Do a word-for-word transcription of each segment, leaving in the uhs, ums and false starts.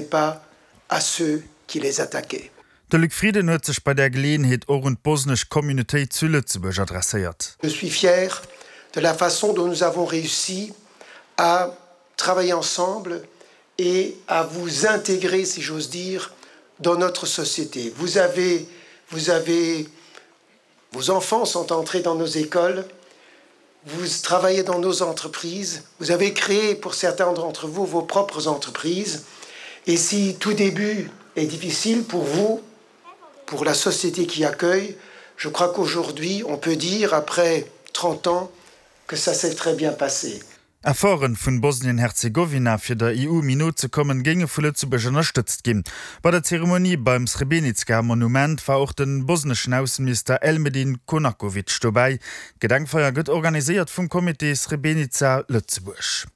Pas à ceux qui les attaquaient. De Luc Frieden huet sech bei där Geleeënheet och un d'bosnesch Communautéit zu Lëtzebuerg adresséiert. Je suis fier de la façon dont nous avons réussi à travailler ensemble et à vous intégrer, si j'ose dire, dans notre société. Vous avez, vous avez, vos enfants sont entrés dans nos écoles, vous travaillez dans nos entreprises, vous avez créé pour certains d'entre vous vos propres entreprises. Et si tout début est difficile pour vous, pour la société qui accueille, je crois qu'aujourd'hui, on peut dire, après trente ans, que ça s'est très bien passé. Efforte vun Bosnien-Herzegowina fir der E U méi no ze kommen, géinge vu Lëtzebuerg ënnerstëtzt ginn. Bei der Zeremonie beim Srebrenica-Monument war och de bosneschen Ausseminister Elmedin Konakovic dobäi. D'Gedenkfeier gëtt organiséiert vum Comité Srebrenica Lëtzebuerg.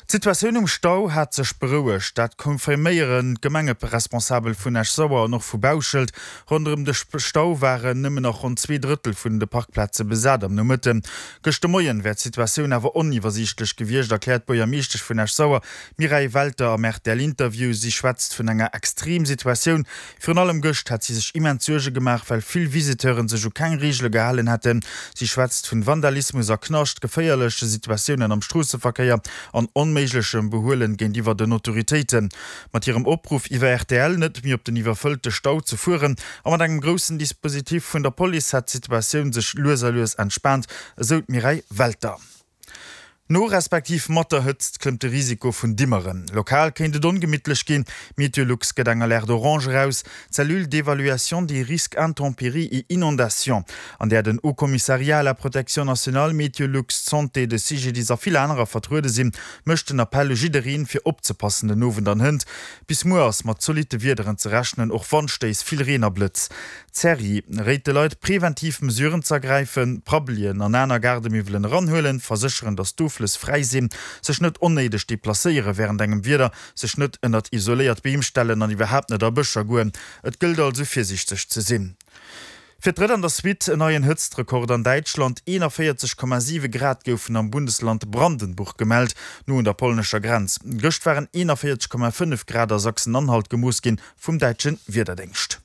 D'Situatioun um Stau hat sech berouegt, dat confirméieren d'Gemengeresponsabel vun Esch-Sauer an och vu Bauschelt. Ronderëm de Stau waren nëmmen nach ronn zwee Drëttel vun de Parkplaze besat am Nomëtten. Gëscht de Moien wär d'Situatioun awer oniwwersiichtlech gewiescht, erkläert d'Buergermeeschtesch vun Esch-Sauer, Mireille Welter am R T L-Interview. Si schwätzt vun enger Extremsituatioun. Virun allem gëscht hätt si sech immens Suerge gemaach, well vill Visiteure sech u keng Reegele gehalen hätten. Si schwätzt vun Vandalismus a Knascht, geféierleche Situatiounen am Stroosseverkéier an onméiglechem Behuelen géintiwwer den Autoritéiten. Mat hirem Opruff iwwer R T L net méi op den iwwerfëllte Stau ze fueren a mat engem groussen Dispositif vun der Police hätt d'Situatioun sech lues a lues entspaant, esou d'Mireille Welter. No respektiv mat der Hëtzt klëmmt de Risiko vun Dimmeren. Lokal kéint et ongemittlech ginn. Meteolux gëtt eng Alerte orange eraus. D'Cellule d'évaluation des risques intempéries et inondations, an där den Haut-Commissariat à la protection nationale, Meteolux, d'Santé, de C G D I S a vill anerer vertruede sinn, mécht den Appell u jiddereen, fir opzepassen den Owend an hënt. Bis muer ass mat zolitte Wiederen ze rechnen, och Wandstéiss, vill Reen a Blëtz. D'Cerie réit de Leit, preventiv Mesuren z'ergräifen, Prabbelien an aner Gaardemiwwelen eranhuelen, versécheren, datt d'Offlëss fräi sinn, sech net onnéideg deplacéiere wärend engem Wieder, sech net ënnert isoléiert Beem stellen an iwwerhaapt net a Bëscher goen. Et gëllt also virsiichteg ze sinn. Fir d'drëtt an der Suite en neien Hëtztrekord an Däitschland, eenanvéierzeg Komma siwe Grad goufen am Bundesland Brandenburg gemellt, no un der polnescher Grenz. Gëscht waren eenanvéierzeg Komma fënnef Grad a Sachsen-Anhalt gemooss ginn, vum däitsche Wiederdéngscht.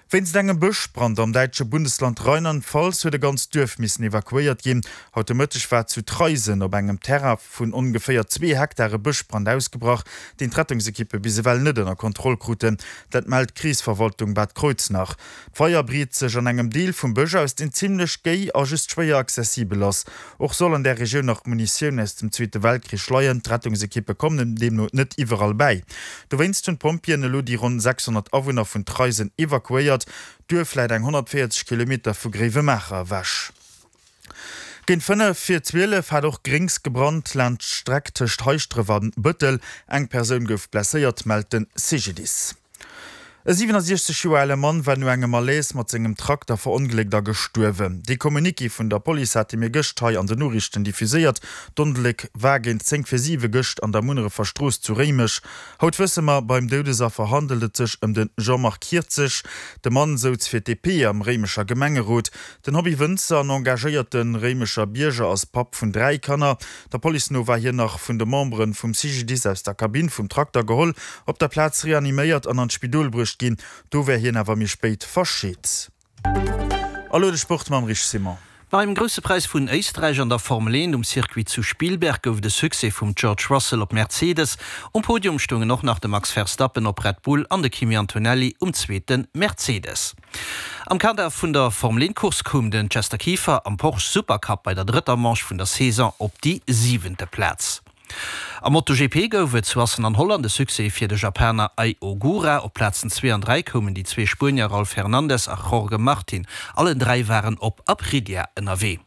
Wéinst engem Bëschbrand am däitsche Bundesland Rheinland-Pfalz huet e ganzt Duerf missen evakuéiert ginn. Haut de Mëtteg war zu Traisen op engem Terrain vun ongeféier zwee Hektar e Bëschbrand ausgebrach, deen d'Rettungsekippe bis ewell net ënner Kontroll kruten. Dat mellt d'Krisverwaltung Bad Kreuznach. D'Feier breet sech an engem Deel vum Bësch aus, deen zimmlech géi a just schwéier accessibel ass. Och soll an där Regioun nach Munitioun aus dem Zweete Weltkrich leien. D'Rettungsekippe kommen deemno net iwwerall bäi. Dowéinst hunn d'Pompjeeën elo déi ronn sechshonnert Awunner vun Traisen evakuéiert. D'Duerf läit eng honnertvéierzeg Kilometer vu Gréiwemaacher ewech. Géint fënnef vir zwielef hat och Gréngs gebrannt laanscht d'Streck tëscht Heischtdref a Bëttel. Eng Persoun gouf blesséiert, mellt de C G D I S. E siwenasiechzeg Joer ale Mann war no engem Malaise mat sengem Trakter verongléckt a gestuerwen. Dee Communiqué vun der Police hate mir gëscht hei an den Noriichten diffuséiert. D'Ongléck war géint zéng vir siwe gëscht an der Munnerefer Strooss zu Réimech. Haut wësse mer, beim Doudesaffer handelt et sech ëm de Jean-Marc Hierzig. De Mann souz fir d'D P am Réimecher Gemengerot. Den Hobby-Wënzer an engagéierte Réimecher Bierger ass Papp vun dräi Kanner. Der Police no war hien nach vun de Membere vum C G D I S aus der Kabinn vum Trakter geholl, op der Plaz reaniméiert an an d'Spidol bruecht ginn. Do wär hien awer méi spéit verscheet. A lo de Sport mam Rich Simon. Beim Grousse Präis vun Éisträich an der Formel eent um Circuit zu Spielberg gouf de Succès vum George Russell op Mercedes. Um Podium stoungen och nach de Max Verstappen op Red Bull an de Kimi Antonelli um zweete Mercedes. Am Kader vun der Formel eent Course koum den Chester Kieffer am Porsche Supercup bei der drëtter Manche vun der Saison op déi siwente Plaz. Am MotoGP gouf et zu Assen an Holland de Succès fir de Japaner Ai Ogura. Op Plazen zwee an dräi koumen déi zwee Spuenier Raul Fernandez a Jorge Martin. Allen dräi waren op Aprilia ënnerwee.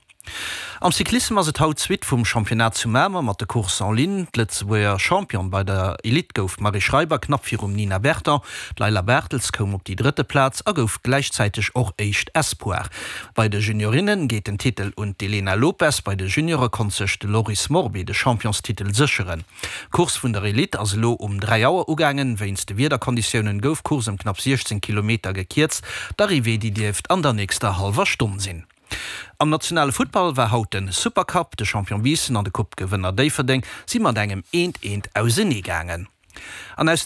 Am Cyclissem ass et haut d'Suite vum Championnat zu Mamer mat de Courses en ligne. D'Lëtzebuerger Championne bei der Elite gouf d'Marie Schreiber knapp virum Nina Berton. D'Layla Bartels koum op déi drëtte Plaz a gouf gläichzäiteg och éischt Espoir. Bei de Juniorinne geet den Titel un d'Elena Lopes, bei de Juniore konnt sech de Loris Morbé de Championstitel sécheren. D'Course vun der Elite ass elo um dräi Auer ugaangen. Wéinst de Wiederkonditioune gouf d'Course ëm knapp siechzéng Kilometer gekierzt. D'Arrivée déi dierft an der nächster hallwer Stonn sinn. Am nationale Futtball war haut den Supercup, de Champion Biissen an de Coupe-Gewënner Déifferdeng si mat engem eent eent auseneegaangen. An aus